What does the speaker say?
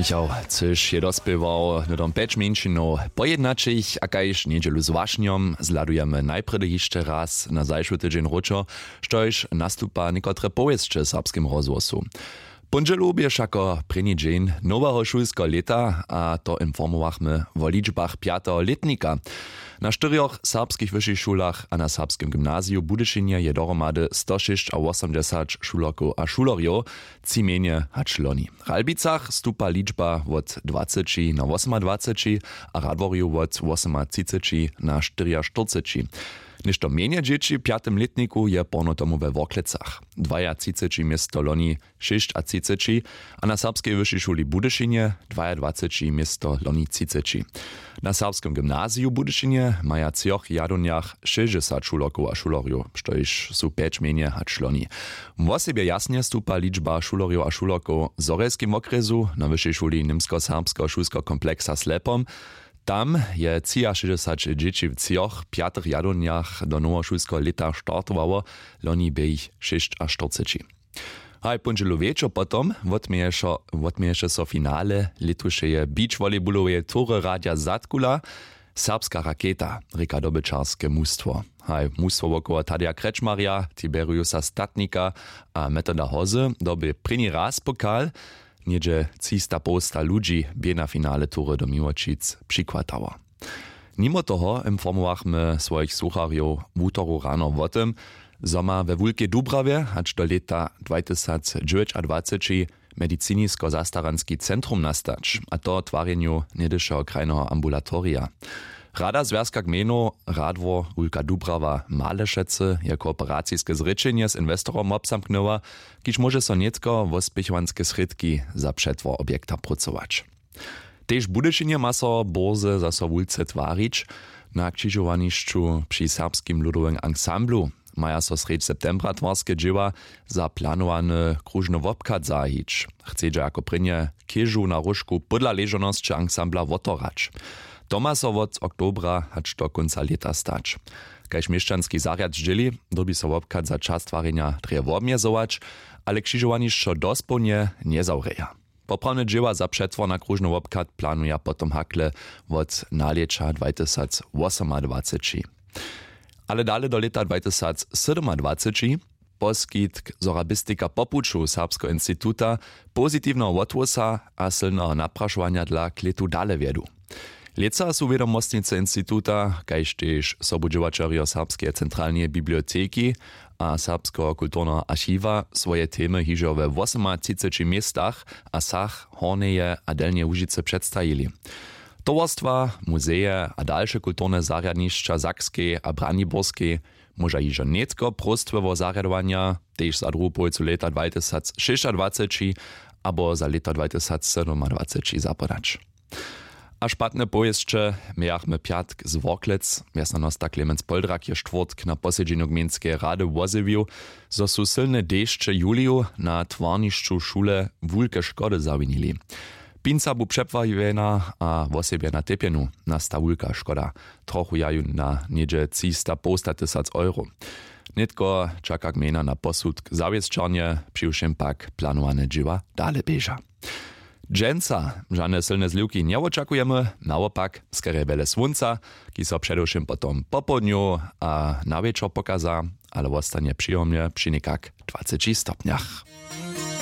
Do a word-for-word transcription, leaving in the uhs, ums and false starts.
Čau, cyž je dospěwał hnydom pjeć mjeńšinow pojednaćich a kaž njedźelu z wašnjom zhladujemy najprjedy hišće raz na zašły tydźeń wróćo, štož nastupa někotre powěsće w serbskim rozhłosu. Póndźelu bě wšako prěni dźeń noweho šulskeho lěta a to informowachmy wo ličbach pjateho lětnika. Na štyrjoch serbskich wyšich šulach a na serbskim gymnaziju w budyšinje je dohromady stošěsćawosomdźesać šulerkow a šulerjow, tři mjenje hač loni. W ralbicach stupa ličba wot dwaceći na wosomadwaceći a radworju wot wosomatřiceći na štyriaštyrceći. Něšto mjenje dźěći w pjatym lětniku je porno tomu we worklecach, dwajatřiceći město loni šěsćatřiceći, a na serbskej wyšej šuli w budyšinje dwajadwaceći město loni třiceći. Na serbskim gymnaziju w budyšinje maja w třoch jadowniach šěsćdźesat šulerkow a šulerjow, štož su pjeć mjenje hač loni. Wosebje jasnje stupa ličba šulerjow a šulerkow w zhorjelskim wokrjesu, na wyšej šuli němskoserbskeho šulskeho kompleksa slepom. Tam je třiašěsćdźesat dźěći w třoch pjatych jadownjach do nowošulskeho lěta startowało, loni bě jich šěsćaštyrceći. Haj póndźelu wječor potom wotměješe so finale lětušeje beachvolleybuloweje tury radja zadkula. Serbska raketa rěka dobyćarske mustwo. Haj mustwo wokoło tadeja krečmarja, tiberiusa statnika a metoda hozy době prěni raz pokal. Něhdźe třista połsta ludźi bě na finale tury do miłočic přichwatało. Nimo toho informowachmy swojich słucharjow wutoru rano wo tym, zo ma we wulkej dubrawje hač do lěta dwatysacdźewjećadwaceći medicinisko-zastaranski centrum nastać, a to w twarjenju něhdyšeho krajneho ambulatorija. Rada zwjazka gmejnow radwor wulka dubrawa malešecy je kooperaciske zrěčenje z inwestorom wobzamknyła, kiž móže so nětko wospěchowanske srědki za přetwor objekta prócować. Tež w budyšinje ma so bórze zaso wulce twarić. Na křižowanišću při serbskim ludowym ansamblu maja so srjedź septembra twarske dźěła za planowany króžny wobchad zahajić. Chcedźa jako prěnje chěžu na róžku pódla ležownosće ansambla wotorać. To ma so wot oktobra hač do kónca lěta stać. Kaž měšćanski zarjad zdźěli, dyrbi so wobchad za čas twarjenja drje wobmjezować, ale křižowanišćo dospołnje njezawrěja. Poprawne dźěła za přetwor na króžny wobchad planuja potom hakle wot nalěća dwatysacwosomadwaceći. Ale dale do lěta dwatysacsydomadwaceći. Poskitk sorabistika po puću serbskeho instituta, pozitiwneho wothłosa a sylneho naprašowanja dla klětu dale wjedu. Lětsa su wědomostnicy instituta kaž tež sobudźěłaćerjo serbskeje centralneje biblioteki a serbskeho kulturneho archiwa swoje temy hižo we wosomatřiceći městach a wsach hornjeje a delnjeje łužicy předstajili. Towarstwa, muzeje a dalše kulturne zarjadnišća w sakskej a braniborskej móža hižo nětko próstwy wo zarjadowanja tež za druhu połojcu lěta dwatysacšěsćadwaceći abo za lěto dwatysacsydomadwaceći zapodać. A špatne powěsće mějachmy pjatk z worklec. Mjeznonosta klemenc poldrak je štwórtk na posedźenju gmejnskeje rady wozjewił, zo su sylne dešće w juliju na twarnišću šule wulke škody zawinili. Pinca bu přepławjena a wosebje na tepjenu nasta wulka škoda, trochu jaju na něhdźe třista połsta tysac euro. Nětko čaka gmejna na posudk zawěsćarnje, přiwšěm pak planowane dźěła dale běža. Dźensa žane sylne zliwki njewočakujemy, nawopak skerje wjele słónca, kiž so předewšěm potom popołdnju a na wječor pokaza, ale wostanje přijomnje při někak dwaceći stopnjach.